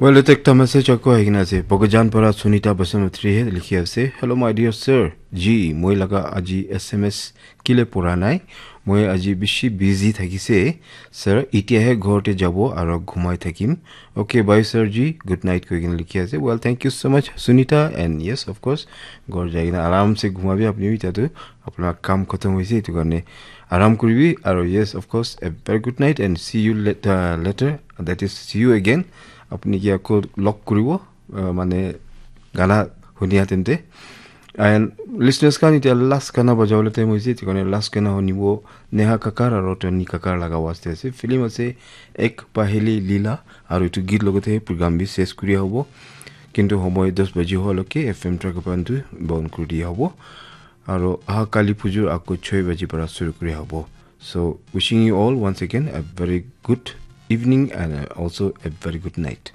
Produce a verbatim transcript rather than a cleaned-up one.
Well, ete ekta message ako ahi kena ase. Bokajan para Sunita Basamatri he likhi ase. "Hello, my dear sir. Ji, moi laga aji S M S kile pura nai. Moi aji bishi busy thakise. Sir, itiahe ghor te jabo aro ghumai thakim. Okay, bye, sir ji. Good night," koi kena likhi ase. Well, thank you so much, Sunita. And yes, of course, ghor jai kena aram se ghumabi apni bi, etia tu apna kam khatam hoise, etu karne aram kuribi. Aro yes, of course, a very good night and see you later, later. That is, see you again. Apni ki ako log kuribo, uh, mane gana hunia tente. And listeners khan, etia last gana bajabole time hoise, etu karne last gana hunibo Neha Kakar aro Tony Kakar laga waste ase. Film ase Ek Paheli Leela, aro etu git logote program bi ses kuri hobo. Kintu homoy dos baji hoa loke F M Track Band tu bon kuri dia hobo. Aro aha kali pujur ako choi baji para suru kuri hobo. So, wishing you all once again a very good evening and, uh, also a very good night.